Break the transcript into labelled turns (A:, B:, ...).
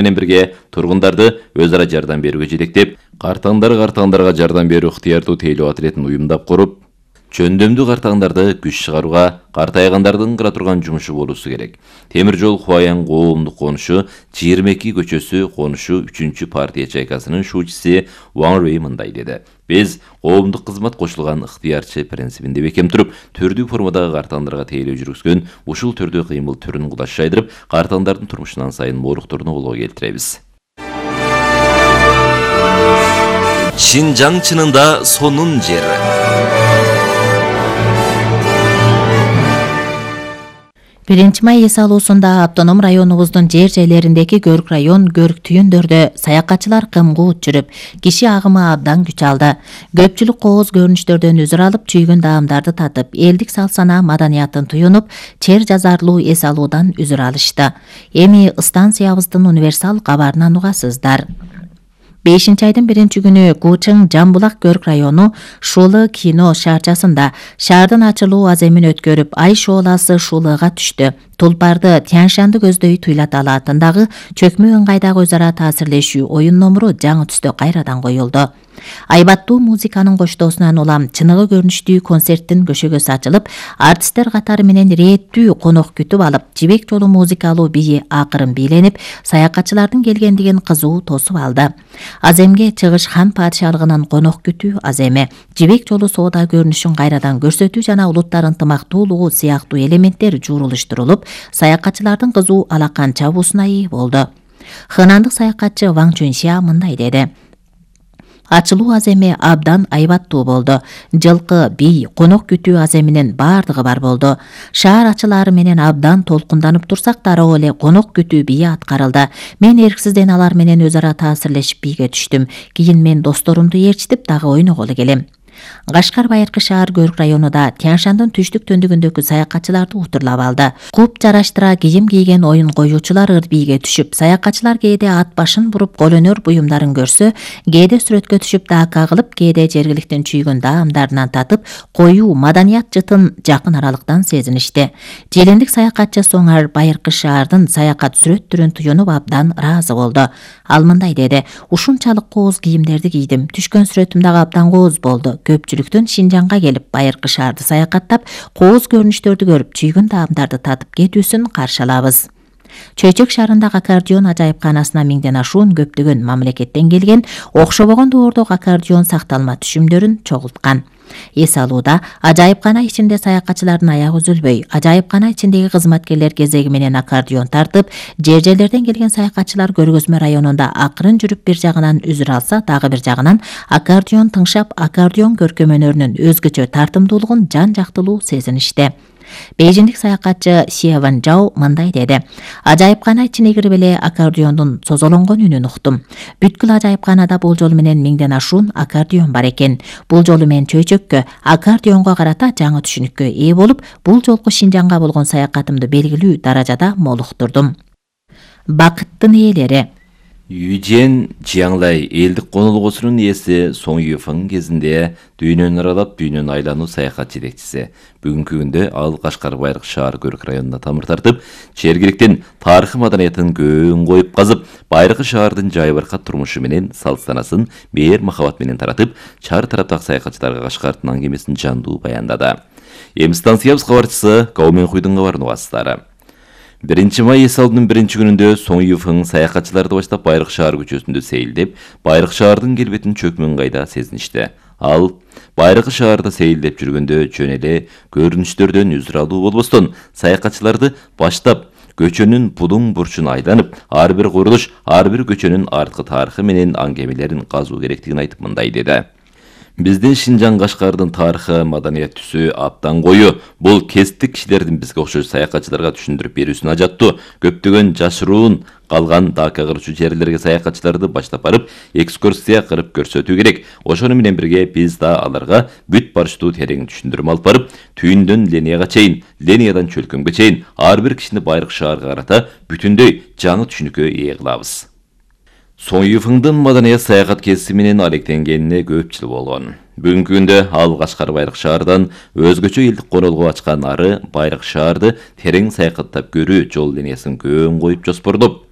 A: менен бирге тургундарды өз ара жардам берүүгө жетектеп, картаңдарга жардам берүү ыктыярдуу тейлөө отрядын уюмдап куруп, жөндөмдүү картаңдарды күч чыгарууга картайгандардын кыра турган жумушу болуусу керек. Темир жол Хуаян коомдук конушу 22 көчөсү конушу 3-чү партия чайкасынын шуучусу Ван Рэй мындай деди. Биз коомдук кызмат кошулган ыктыярчы принцибинде бекем туруп, түрдүү формадагы картаңдарга тейлөө жүргүзгөн ушул түрдүү кыймыл түрүн кудаш жайдырып, картаңдардын турмушунан сайын моруктурууну колго келтиребиз. Шинжаң чынында сонун жер.
B: 1-май эс алуусунда автоном районубуздун жер-жайлериндеги көрк район, көрк түйүндөрдө саякатчылар кымгуут жүрүп, киши агымы абдан күч алды. Көпчүлүк кооз көрүнүштөрдөн үзүр алып, чүйгүн даамдарды татып, элдик сал-санаа маданиятын туюнуп, чер жазарлуу эс алуудан үзүр алышты. Эми станциябыздын универсал кабарынан угасыздар. 5-айдын 1-күнү Кучың Жамбулак көрк району Шулы кино шаарчасында шаардын ачылуу аземин өткөрүп, ай шооласы шулыга түштү. Тулпарды Тяншанды көздөй Туйлат алаатындагы чөкмө ыңгайдагы өз ара таасирлешүү оюн номуру жаңы түстө кайрадан коюлду. Айбаттуу музыканын коштоосунан улам чыныгы көрүнүштүү концерттин көшөгөсү ачылып, артисттер катары менен ирээттүү конок күтүп алып, жибек жолу музыкалуу бии акырын бийленип, саякатчылардын келгендигин кызуу тосуп алды. Аземге чыгыш хан падышалыгынын конок күтүү аземи, жибек жолу соода көрүнүшүн кайрадан көрсөтүү жана улуттар ынтымактуулугу сыяктуу элементтер жуурулуштурулуп, саякатчылардын кызуу алакан чабуусуна ээ болду. Хынандык саякатчы Ван Чунxia мындай деди. Ачылуу аземи абдан айбаттуу болду. Жылкы, бий, конок күтүү аземинин бардыгы бар болду. Шаар ачылаары менен абдан толкунданып турсак, дароо эле конок күтүү бии аткарылды. Мен эрксизден алар менен өз ара таасирлешип бийге түштүм. Кийин мен досторумду ээрчитип дагы ойноголу келем. Кашкар Байыркы шаар көрк районунда Тяншандын түштүк төндүгүндөгү саякатчыларды утурлап алды. Куп жараштыра кийим кийген оюн коюучулар ыр бийге түшүп, саякатчылар кээде ат башын буруп колөнөр буюмдарын көрсө, кээде сүрөткө түшүп даакка кылып, кээде жергиликтин чүйгүн даамдарынан татып, коюу маданият жытын жакын аралыктан сезиништи. Желендик саякатчы Соңар Байыркы шаардын саякат сүрөт түрүн туюнуп абдан ыраазы болду. Ал мындай деди: "Ушунчалык кооз кийимдерди кийдим. Түшкөн сүрөтүм дагы абдан кооз болду. Көпчүлүктөн Шинжаңга келип, Байыркы шаарды саякаттап, кооз көрүнүштөрдү көрүп, чүйгүн даамдарды татып кетүүсүн каршы алабыз." Чөйчөк шаарындагы аккордеон ажайыпканасына миңден ашуун көптөгөн мамлекеттен келген, окшобогон доордогу аккордеон сакталма түшүмдөрүн чогулткан. Эс алууда ажайыпкана ичинде саякатчылардын аягы үзүлбөй, ажайыпкана ичиндеги кызматкерлер кезеги менен аккордеон тартып, жер-жерлерден келген саякатчылар көргөзмө районунда акырын жүрүп бир жагынан үзүр алса, дагы бир жагынан аккордеон тыңшап, аккордеон көркөмөнөрүнүн өзгөчө тартымдуулугун жан-жактылуу сезиништи. Бейжиндик саякатчы Сиеван Жау мындай деди: "Ажайыпкана ичине кирип эле аккордеондун созолонгон үнүн уктум. Бүткүл ажайыпканада бул жолу менен миңден ашуун аккордеон бар экен. Бул жолу мен чөйчөккө, аккордеонго карата жаңы түшүнүккө ээ болуп, бул жолку Шинжаңга болгон саякатымды белгилүү даражада молуктурдум." Бакыттын ээлери.
A: Южен Жиаңлай элдик конолгосунун ээси Соң Юфың кезинде дүйнөнү аралап, дүйнөнү айлануу саякат жетекчиси. Бүгүнкү күндө ал Кашкар Байыркы шаар көрк районуна тамыр тартып, жергиликтин тарыхый маданиятын көөн коюп казып, Байыркы шаардын жайбаркат турмушу менен салт-санасын мээр махабат менен таратып, чар тараптагы саякатчыларга Кашкардын аңгемесин жандуу баяндады. Эми станциябыз кабарчысы Каумен Хуйдун кабарын угасыздар. 1-май эс алуунун 1-күнүндө Соң Юфың саякатчыларды баштап Байыркы шаар көчөсүндө сейилдеп, Байыркы шаардын келбетин чөкмөн кайда сезиништи. Ал Байыркы шаарда сейилдеп жүргөндө жөн эле көрүнүштөрдөн үзүр алуу болбостон, саякатчыларды баштап көчөнүн будуң бурчун айланып, ар бир курулуш, ар бир көчөнүн арткы тарыхы менен аңгемелерин казуу керектигин айтып мындай деди: "Биздин Шинжаң Кашкардын тарыхы, маданият түсү абдан кою. Бул кесиптик кишилердин бизге окшош саякатчыларга түшүндүрүп берүүсүн ажаттуу. Көптөгөн жашыруун калган даакка кырчу жерлерге саякатчыларды баштап барып, экскурсия кырып көрсөтүү керек. Ошону менен бирге биз да аларга бүт барыштуу терең түшүндүрмө алып барып, түйүндөн Ленияга чейин, Лениядан Чөлкөмгө чейин ар бир кишини Байыркы шаарга карата бүтүндөй жаңы түшүнүккө ээ кылабыз." Соң Юфыңдын маданият саякат кесиби менен алектенгенине көп жыл болгон. Бүгүнкү күндө ал Кашкар Байыркы шаардан өзгөчө элдик конолго ачкан ары Байыркы шаарды терең саякаттап көрүү жол линиясын көөн коюп жоспордоп,